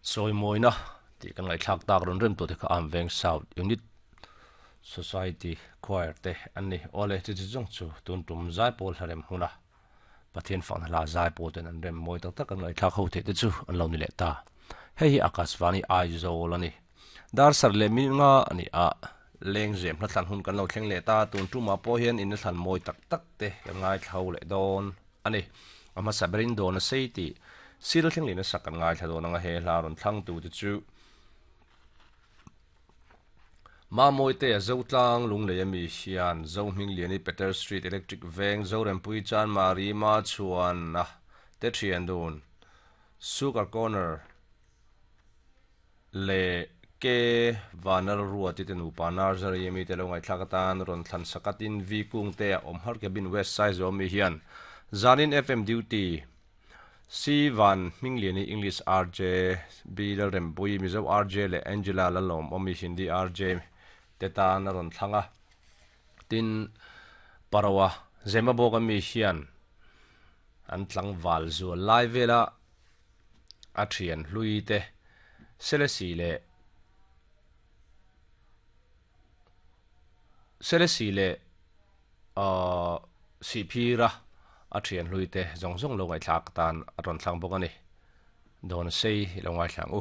Chawimawina tih kan ngaihthlak tak rawn rem tawh te kha Arm Veng South Unit Society Choir te an ni. Awle, chu chu zawng chu tun tum zaipawl hlarem huna Pathian fakna hla zaipawl ten an rem mawi tak tak an ngaihthlak ho theih te chu an lo ni leh ta. Hei hi Akashvani Aizawl a ni. Dar sar leh minute nga a ni a, lengzem hla thlan hun kan lo thleng leh ta, tun tumah pawh hian in thlan mawi tak tak te kan ngaithla ho leh dawn a ni. A hmasa berin dawn a sei tih sil thleng leh nasa kan ngaithla dawn ang a, he hla rawn thlang tu te chu Mamawite a Zotlang Lunglei ami hian Zohmingliani Peter Street Electric Veng Zorempui Chanmari Machhuana te thian dun Sugar Corner leh K Vanal Ruati te nupa Nursery ami te lo ngaihthlak atan rawn thlan sak a tin V Kungte a awm har Cabin West Saizaw ami hian Zanin FM Duty C Van Hmingliani English RJ, B Lalrempuii Mizo RJ leh Angela Lalawmawmi Hindi RJ te tan a rawn thlang a. Tin, Paroa Zemabawk ami hian an tlangval zual lai vela a thian hlui te Selesih leh Selesih leh Ahh Sihphira a thian hlui te zawng zawng lo ngaihthlak tan a rawn thlang bawk a ni. Dawn sei i lo ngaithla ang u.